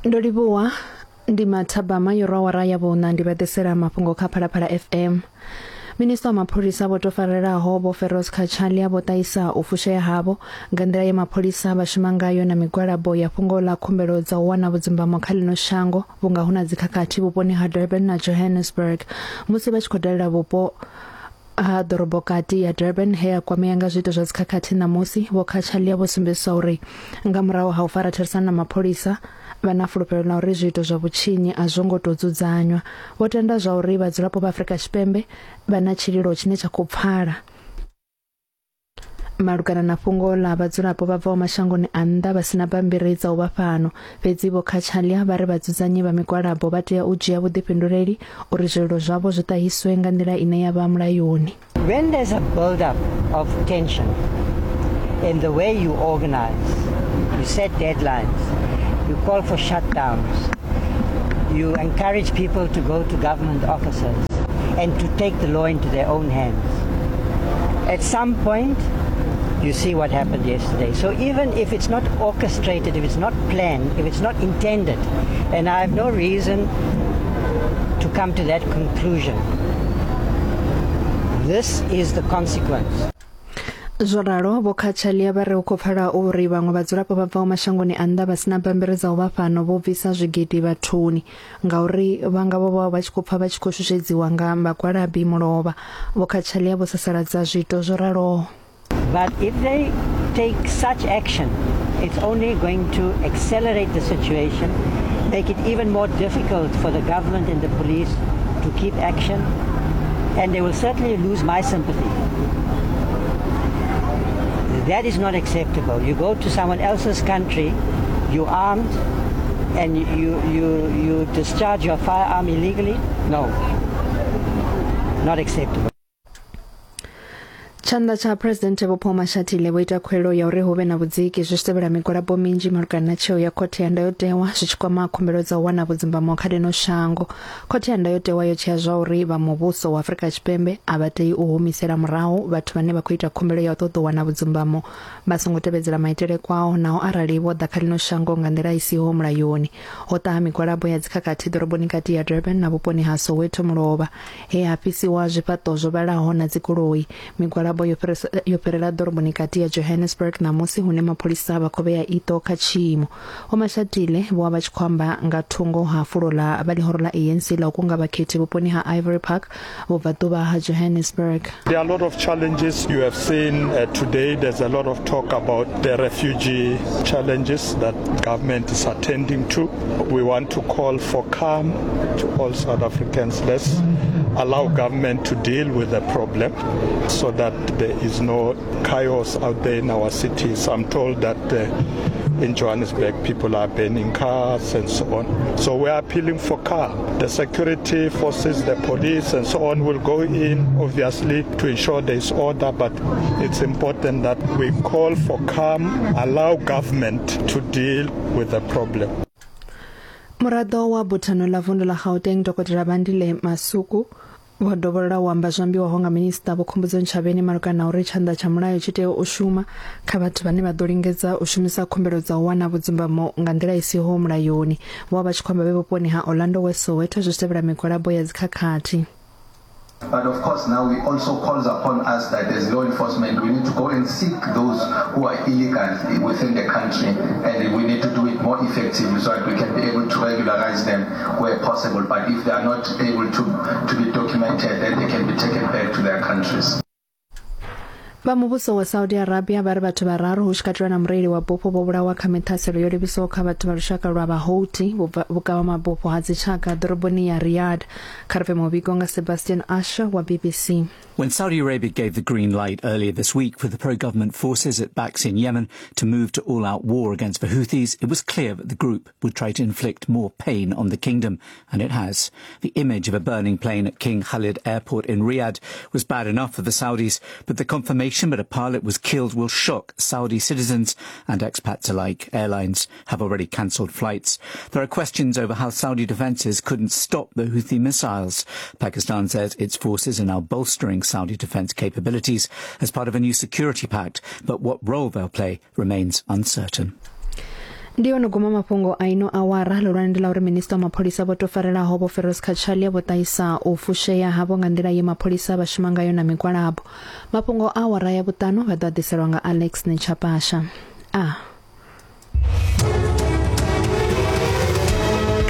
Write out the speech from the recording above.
Ndo livhuwa ndi mathabama yo rwa awara ya vhuṋa ndi vha ḓisela mafhungo kha Phalaphala FM. Minista wa mapholisa vho tou farelaho Vho Feroz Cachalia vho ṱahisa u fushea havho nga nḓila ye mapholisa vha shuma ngayo na migwalabo ya fhungo ḽa khumbelo dza u wana vhudzumbamo kha ḽino shango vhunga hu na dzikhakhathi vhuponi ha Durban na Johannesburg musi vha tshi khou dalela vhupo ha ḓorobokati ya Durban he a kwamea nga zwiito zwa dzikhakhathi ṋamusi, Vho Cachalia vho sumbedzisa uri nga murahu ha u fara therisano na mapholisa, vha na fulufhelo ḽa uri zwiito zwa vhutshinyi a zwo ngo tou dzudzanywa. Vho tenda zwa uri vhadzulapo vha Afrika Tshipembe vha na tshililo tshine tsha khou pfala malugana na fhungo ḽa vhadzulapo vha bvaho mashangoni a nnḓa vha si na bammbiri dza u vha fhano. Fhedzi Vho Cachalia vha ri vhadzudzanyi vha migwalabo vha tea u dzhia vhuḓifhinduleli uri zwililo zwavho zwi ṱahiswe nga nḓila ine ya vha mulayoni. When there's a build-up of tension in the way you organize, you set deadlines, you call for shutdowns, you encourage people to go to government offices and to take the law into their own hands. At some point, you see what happened yesterday. So even if it's not orchestrated, if it's not planned, if it's not intended, and I have no reason to come to that conclusion, this is the consequence. Zwo ralo, Vho Cachalia vha ri hu khou pfala uri vhaṅwe vhadzulapo vha bvaho mashangoni a nnḓa vha si na bammbiri dza u vha fhano vho bvisa zwigidi vhathuni ngauri vha nga vho vha vha tshi khou pfa vha tshi khou shushedziswa nga vhagwalabi mulovha. Vho Cachalia vho sasaladza zwiito zwo raloho. But if they take such action, it's only going to accelerate the situation, make it even more difficult for the government and the police to keep action, and they will certainly lose my sympathy. That is not acceptable. You go to someone else's country, you're armed, and you, you, you discharge your firearm illegally? No. Not acceptable. Tshanḓa tsha Phresidennde Vho Paul Mashatile vho ita khuwelelo ya uri hu vhe na vhudziki zwi tshi tevhela migwalabo minzhi malugana na tsheo ya khothe ya ndayotewa zwi tshi kwama khumbelo dza u wana vhudzumbamo kha ḽino shango. Khothe ya ndayotewa yo tshea zwa uri vha muvhuso wa Afrika Tshipembe a vha tei u humisela murahu vhathu vhane vha khou ita khumbelo ya u ṱoḓa u wana vhudzumbamo vha songo tevhedzela maitele kwao naho arali vho ḓa kha ḽino shango nga nḓila i siho mulayoni. Ho ṱaha migwalabo ya dzikhakhathi ḓoroboni kati ya Durban na vhuponi ha Soweto mulovha he ha fhisiwa zwifhaṱo zwo vhalaho na dzigoloi. Migwalabo yo yo fhirela ḓoroboni kati ya Johannesburg ṋamusi hune mapholisa vha khou vhea iṱo kha tshiimo. Vho Mashatile vho vha vha tshi khou amba nga thungo ha fulo ḽa vha ḽihoro ḽa ANC ḽa u kunga vhakhethi vhuponi ha Ivory Park vhubvaḓuvha ha Johannesburg. There are a lot of challenges you have seen uh, today. There's a lot of talk about the refugee challenges that government is attending to. We want to call for calm to all South Africans. Let's allow government to deal with the problem so that there is no chaos out there in our cities. I'm told that uh, in Johannesburg people are burning cars and so on. So we are appealing for calm. The security forces, the police and so on will go in obviously to ensure there is order, but it's important that we call for calm, allow government to deal with the problem. Muraḓo wa buthano ḽa vundu ḽa Gauteng Dokotela Bandile Masuku vho dovholola u amba zwo ambiwaho nga minisiṱa Vho Khumbudzo Ntshavheni malugana na uri tshanḓa tsha mulayo tshi tea u shuma kha vhathu vhane vha ḓo lingedza u shumisa khumbelo dza u wana vhudzumbamo nga nḓila i siho mulayoni. Vho vha vha tshi khou amba vhe vhuponi ha Orlando West Soweto zwi tshi tevhela migwalabo ya dzikhakhathi. But of course, now we also calls upon us that as law enforcement, we need to go and seek those who are illegal within the country, and we need to do it more effectively so that we can be able to regularize them where possible. But if they are not able to, to be documented, then they can be taken back to their countries. Vha muvhuso wa Saudi Arabia vha ri vhathu vhararu hu tshi katelwa na mureili wa bufho vho vhulawa kha miṱhaselo yo livhiswaho kha vhathu vha lushaka lwa Vhahouthi vhukavha mabufho ha dzitshaka ḓoroboni ya Riyadh. Kha ri pfe muvhigo nga Sebastian Usher wa BBC. When Saudi Arabia gave the green light earlier this week for the pro-government forces it backs in Yemen to move to all-out war against the Houthis, it was clear that the group would try to inflict more pain on the kingdom, and it has. The image of a burning plane at King Khalid Airport in Riyadh was bad enough for the Saudis, but the confirmation that a pilot was killed will shock Saudi citizens and expats alike. Airlines have already cancelled flights. There are questions over how Saudi defences couldn't stop the Houthi missiles. Pakistan says its forces are now bolstering Saudi defence capabilities as part of a new security pact, but what role they'll play remains uncertain. Ndi ono guma mafhungo a ino awara. Ḽihulwane ndi ḽa uri minista wa mapholisa vho tou farelaho Vho Feroz Cachalia vho ṱahisa u fushea havho nga nḓila ye mapholisa vha shuma ngayo na migwalabo. Mafhungo a awara ya vhuṱanu vha ḓo a ḓiselwa nga Alex Nechapasha. A.